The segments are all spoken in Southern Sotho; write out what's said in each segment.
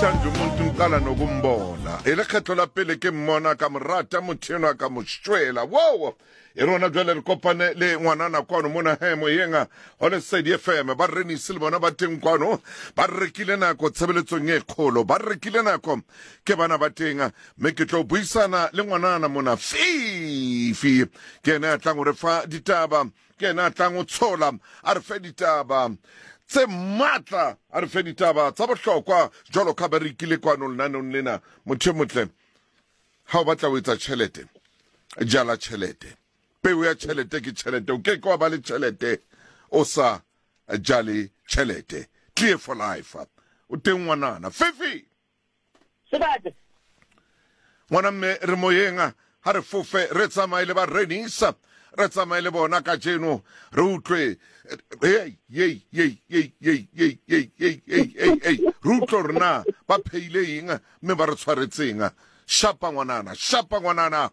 Namhlanje umuntu ngiqala nokumbona. E lekgetlo la pele ke mmona ka mo rata motho enwa ka mo shwela. Wow! E rona jwale re kopane le ngwanana kwano mona he moyeng go Lesedi FM. Ba Renisi le bona ba teng kwano. Ba rekile nako tshebeletsong e kgolo. Ba rekile nako ke bana ba teng. Mme ke tlo buisana le ngwanana mona Fifi. Ke ene a tlang ho re fa ditaba. Ke yena a tlang o tshola a re fe ditaba tse matla, a re fe ditaba tsa bohlokwa jwalo ka ba re ikile kwano lenaneong lena. Motho e motle, ha o batla ho etsa tjhelete, jala tjhelete. Peo ya tjhelete ke tjhelete. O ke ke wa ba le tjhelete o sa jale tjhelete. Clear for life. O teng ngwanana. Fifi! Sebata. Ngwana mme re moyeng ha re fofe re tsamaye le ba Renisa re tsamaye le bona kajeno re utlwe hey hey hey hey hey hey hey hey hey hey hey re utlwe hore na ba pheile eng mme ba re tshwaretseng shapa ngwanana shapa ngwanana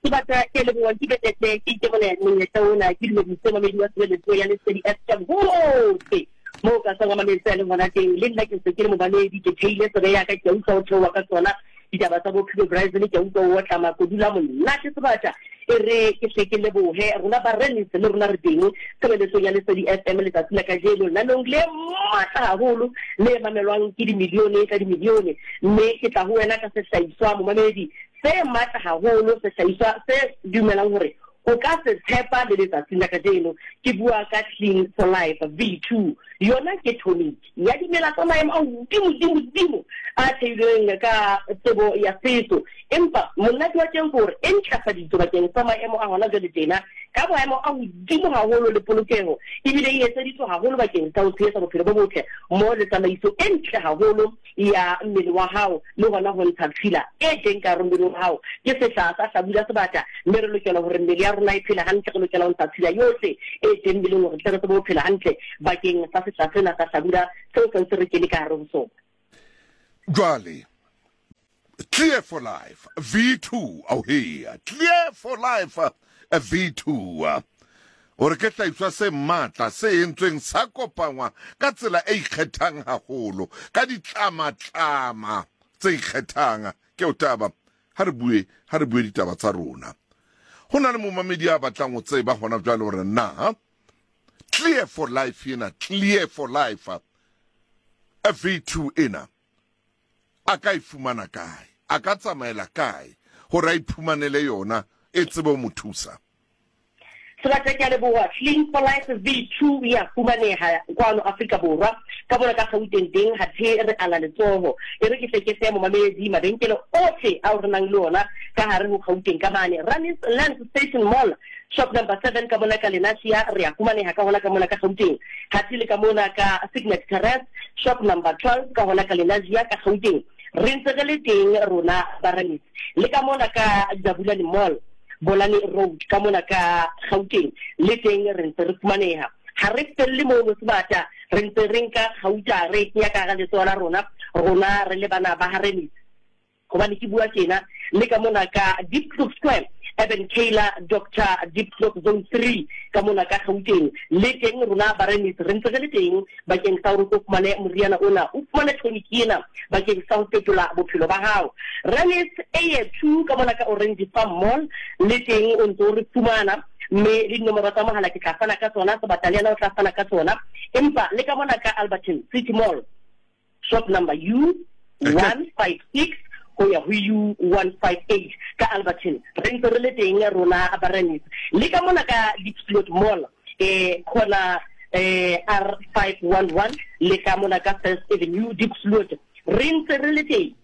Ke batla ke leboha ke betetle ke ikemole monyetla ona ke dumedise mamedi wa tshebeletso ya Lesedi FM hohle moo ka sang wa mametse a leng hona teng. Le nna ke ntse ke le momamedi, ke theile tsebe ya ka, ke a utlwa ho theoha ka tsona ditaba tsa bophelo Brazil, ke a utlwa o otla makodula monate sebata. E re ke hle ke lebohe rona ba Rennes le rona re teng tshebeletsong ya Lesedi FM letsatsi la kajeno lenaneong le matla haholo le mamelwang ke dimilione ka dimilione. Mme ke tla ho wena ka sehlahiswa momamedi se matla haholo, sehlahiswa se dumelang hore o ka se tshepa le letsatsing la kajeno. Ke bua ka Clean for Life V2. Yona ke tonic ya dimela tsa maemo a hodimo-dimo-dimo a theilweng ka tsebo ya setso. Empa monate wa teng ke hore e ntlafaditswe bakeng sa maemo a hona jwale tjena ka maemo a hodimo haholo le polokeho, ebile e etseditswe haholo bakeng sa ho tshehetsa bophelo bo botle mmoho le tsamaiso e ntle haholo ya mmele wa hao le hona ho ntsha tshila e teng ka hare mmeleng wa hao. Ke sehla sa hlabula sebata, mme re lokela hore mmele ya rona e phele hantle. Re lokela ho ntsha tshila yohle e teng mmeleng hore tle re tsebe ho phela hantle bakeng sa sehla sena sa hlabula seo se ntse re kene ka hare ho sona. Jwale, Clear for Life V2, auhea, Clear for Life V2, hore ke hlahiswa se matla se entsweng sa kopangwa ka tsela e ikgethang haholo ka ditlamatlama tse ikgethang. Ke o taba, ha re bue, ha re bue ditaba tsa rona. Ho na le momamedi ya batlang ho tseba hona jwale hore na Clear for Life ena, Clear for Life V2 ena a ka e fumana kae? A ka tsamaela kae hore a iphumanele yona e tsebe ho mo thusa? Sebata ke a leboha. Clean for Life V2 e a fumaneha kwano Afrika Borwa. Ka mona ka Gauteng teng hathe re ala letsoho. E re ke hle ke fe momamedi mabenkele ohle ao re nang le ona ka hare ho Gauteng ka mane. Ranis Lands Station Mall, shop number 7 ka mona ka Lenasia re a fumaneha ka hona ka mona ka Gauteng. Hathe le ka mona ka Signet Terrace, shop number 12 ka hona ka Lenasia ka Gauteng. Re ntse re le teng rona ba Ranis. Le ka mona ka Jabulani Mall, Bolane Road ka mona ka Gauteng le teng re ntse re fumaneha. Ha re felle mono sebata, re ntse re nka gauta re e kenya ka hara letsoho la rona, rona re le bana ba ha Remis. Hobane ke bua tjena le ka mona ka Diepkloof Square, Urban Kayla, Doctor Diepkloof Zone 3 ka mona ka Gauteng le teng rona ba Remis re ntse re le teng bakeng sa hore o tlo fumane moriana ona, o fumane tonic ena bakeng sa ho fetola bophelo ba hao. Remis Eye 2 ka mona ka Orange Farm Mall le teng o ntse o re fumana, mme le dinomoro tsa mohala ke tla fana ka tsona, Sebata le yena o tla fana ka tsona. Empa le ka mona ka Alberton City Mall, shop number U156 ho ya ho U158 ka Alberton, re ntse re le teng rona ba Remis. Le ka mona ka Diepsloot Mall, eh corner eh R511 le ka mona ka First Avenue Diepsloot, re ntse re le teng.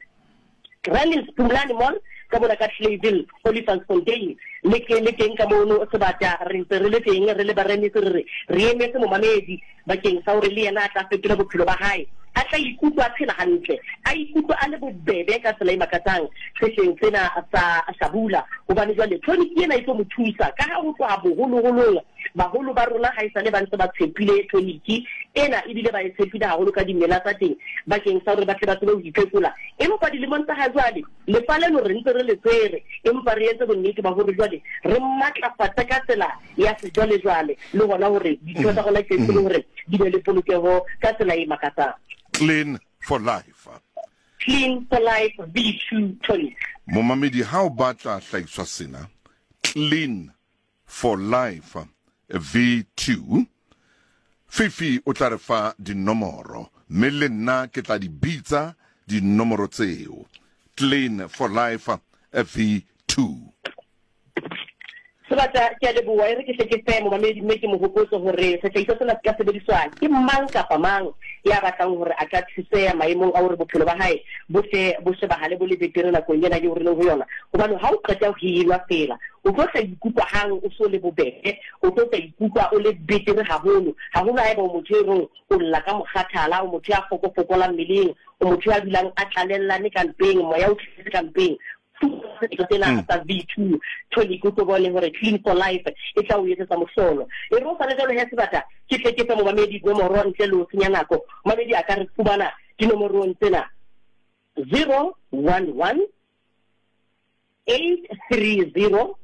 Granils Phumlani Mall ka mona ka Clayville, Olifantsfontein le ke le teng ka mono Sebata, re ntse re le teng re le Baremis, re re re emetse momamedi bakeng sa hore le yena a tla fetola bophelo ba hae, a tla ikutlwa a phela hantle, a ikutlwa a le bobebe ka tsela e makatsang sehleng sena sa hlabula, hobane jwale tonic ena e tlo mo thusa ka ha ho tloha boholoholong baholo ba rona haesale ba ntse ba tshepile tonic ena ebile ba e tshepile haholo ka dimela tsa teng bakeng sa hore ba tle ba tsebe ho iphekola. Empa dilemong tsa hajwale lefa leno re ntse re le tshwere, empa re entse bonnete ba hore jwale re matlafatse ka tsela ya sejwalejwale le hona hore ditho tsa rona ke tsebe hore di be le polokeho ka tsela e makatsang. Clean for life. Clean for Life V2 Tonic. Momamedi ha o batla hlahiswa sena, Clean for Life V2, Fifi o tla re fa dinomoro mme le nna ke tla di bitsa dinomoro tseo. Clean for Life V2. Sebata, ke a leboha. E re ke hle ke fe momamedi mme ke mo hopotse hore sehlahiswa sena se ka sebediswa ke mang kapa mang ya batlang hore a ka thuseha maemong a hore bophelo ba hae bo hle bo shebahale bo le betere nakong ena eo re leng ho yona. Hobane ha o qeta ho e nwa feela, o tlo tla ikutlwa hang o so le bobebe, o tlo tla ikutlwa o le betere haholo, haholo haeba o motho e reng o lla ka mokgathala, o motho ya fokofokolang mmeleng, o motho ya dulang a tlalellane ka mpeng, moya o tletse ka mpeng. Setho sena mm. sa V2 tonic o tlo bone hore Clean for Life e tla o etsetsa mohlolo. E re o sale jalo he sebata ke tle ke fe momamedi nomoro ntle le ho senya nako. Momamedi a ka re fumana dinomorong tsena 011 830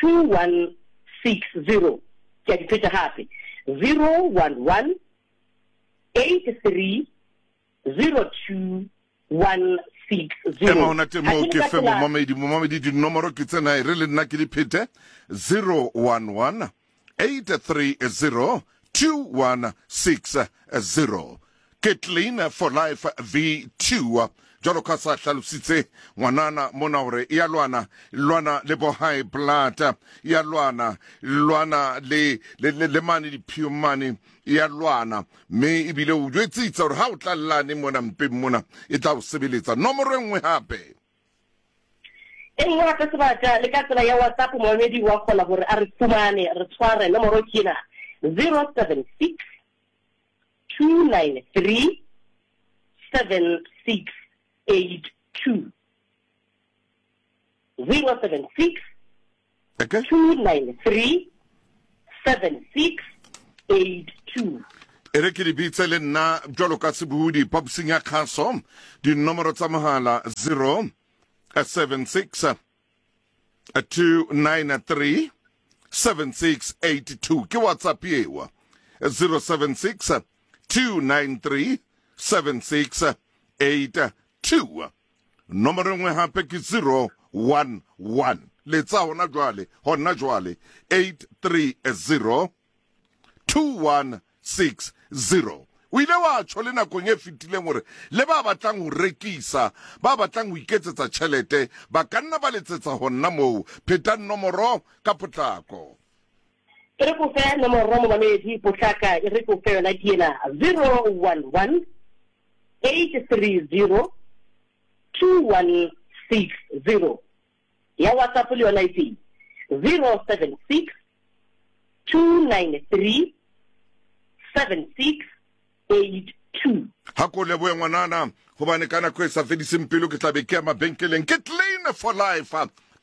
2160. Ke a di pheta hape 011 83 02 160. Ema hona teng moo ke fe momamedi momamedi dinomoro ke tsena e re le nna ke di phete 011 830 2160 ke Clean for Life V2 jwalo ka sa hlalositse ngwanana mona hore ya lwana lwana le bo high blood ya lwana lwana le le, le, le mane diphio mane ya lwana mme ebile o jwetsitse gore ga o tla llane mona mpeng mona e tla o sebeletsa nomoro e nngwe gape. E nngwe gape sebata le ka tsela ya WhatsApp momamedi wa kgona gore a re fumane re tshware nomoro ke ena 076 293 7682. 076 Okay. 293 7682. E re ke di bitse le nna bjalo ka sebohodi phaposing ya kgaso dinomoro tsa mogala 0 76 293 7682 ke WhatsApp ewa 076 293 7682. Nomoro e nngwe gape ke 011 letsa hona jwale hona jwale 830 2160. O ile wa tjho le nakong e fetileng hore le ba batlang ho rekisa, ba batlang ho iketsetsa tjhelete, ba ka nna ba letsetsa hona moo. Phetang nomoro ka potlako. E re ko fe nomoro momamedi potlaka, e re ko fe yona ke ena 011 830 2160. Ya WhatsApp le yona e teng 076 293 7682. Ha ko lebohe ngwanana, hobane ka nako e sa fediseng pelo ke tla be ke ya mabenkeleng. Ke Clean for Life,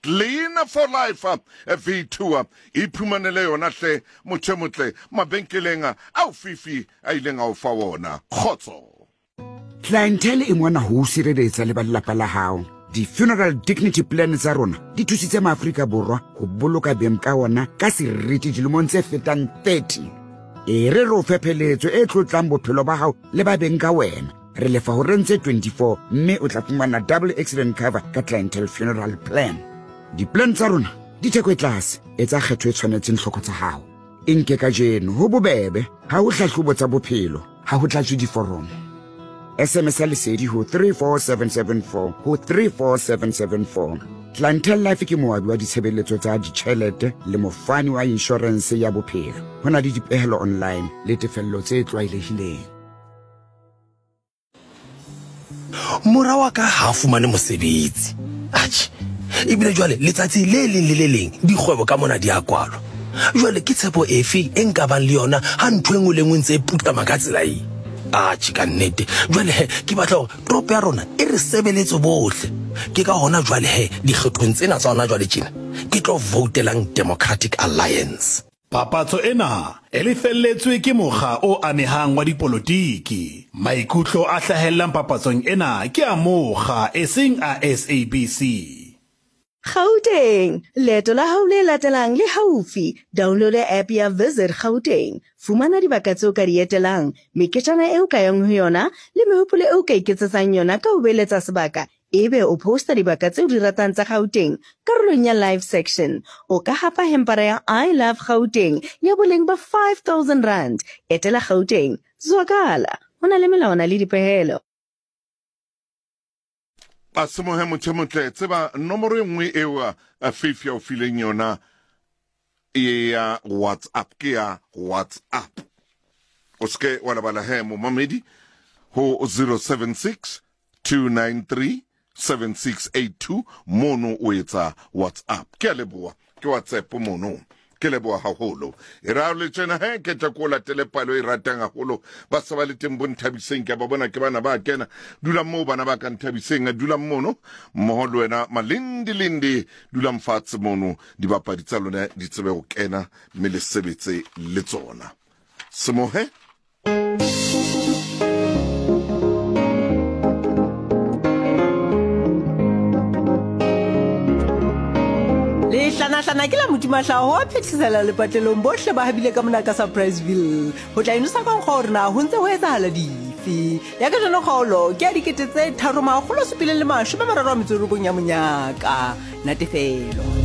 Clean for Life V2. Iphumanele yona hle motho e motle mabenkeleng ao Fifi a ileng a o fa wona. Kgotso. Clientele e mona ho o sireletsa le ba lelapa la hao. Di-funeral dignity plan tsa rona di thusitse maAfrika Borwa ho boloka beng ka ona ka seriti dilemong tse fetang 30. E re re o fe pheletso e tlotlang bophelo ba hao le ba beng ka wena. Re lefa horeng tse 24 mme o tla fumana double accident cover ka Clientele Funeral Plan. Di-plan tsa rona di theko e tlase, etsa kgetho e tshwanetseng tlhoko tsa hao. E nke kajeno ho bobebe, ha ho hlahlobo tsa bophelo, ha ho tlatswe diforomo. SMS ya lesedi ho 34774 ho 34774. Clientele Life ke moabi wa ditshebeletso tsa ditjhelete le mofani wa inshorense ya bophelo. Ho na le dipehelo online le tefello tse tlwaelehileng. Mora wa ka ha a fumane mosebetsi. Atjhe, ebile jwale letsatsi le leng le le leng dikgwebo ka mona di a kwalwa. Jwale ke tshepo efe e nka bang le yona ha ntho e nngwe le nngwe ntse e putlama ka tsela e? Atjhe, ka nnete. Jwale he, ke batla hore toropo ya rona e re sebeletse bohle. Ke ka hona jwale he, dikgethong tsena tsa hona jwale tjena, ke tlo voutelang Democratic Alliance. Papatso ena e lefelletswe ke mokga o amehang wa dipolotiki. Maikutlo a hlahellang papatsong ena ke a mokga eseng a SABC. Gauteng, leeto la hao le latelang le haufi. Downloada app ya Visit Gauteng. Fumana dibaka tseo ka di etelang, meketjana eo ka yang ho yona le mehopolo eo ka iketsetsang yona ka ho beeletsa sebaka ebe o posta dibaka tseo di ratang tsa Gauteng karolong ya Live section. O ka hapa hempara ya I Love Gauteng ya boleng ba R5000. Etela Gauteng. Zwakala. Ho na le melawana le dipehelo. A semohe motho e motle tseba nomoro e nngwe eo a Faith ya o fileng yona ya WhatsApp ke ya WhatsApp. O seke wa lebala he momamedi ho 076 293 7682 mono o etsa WhatsApp. Ke a leboha ke WhatsApp mono. Ke leboha haholo. E ra le tjena he ke tla ko latele palo e ratang haholo. Ba se ba le teng bo Nthabiseng ke a ba bona ke bana ba kena. Dulang moo bana ba ka Nthabiseng dulang mono mmoho le wena Malindi Lindi dulang fatshe mono dibapadi tsa lona di tsebe ho kena mme le sebetse le tsona. Semohe. Lehlanahlana ke la Modimahlaho wa phethesela lepatlelong bohle ba habile ka mona ka Surpriseville ho tla inosa ka nkgo hore na ho ntse ho etsahala dife. Ya kajeno kgaolo ke ya 3709 ya monyaka. Natefelo.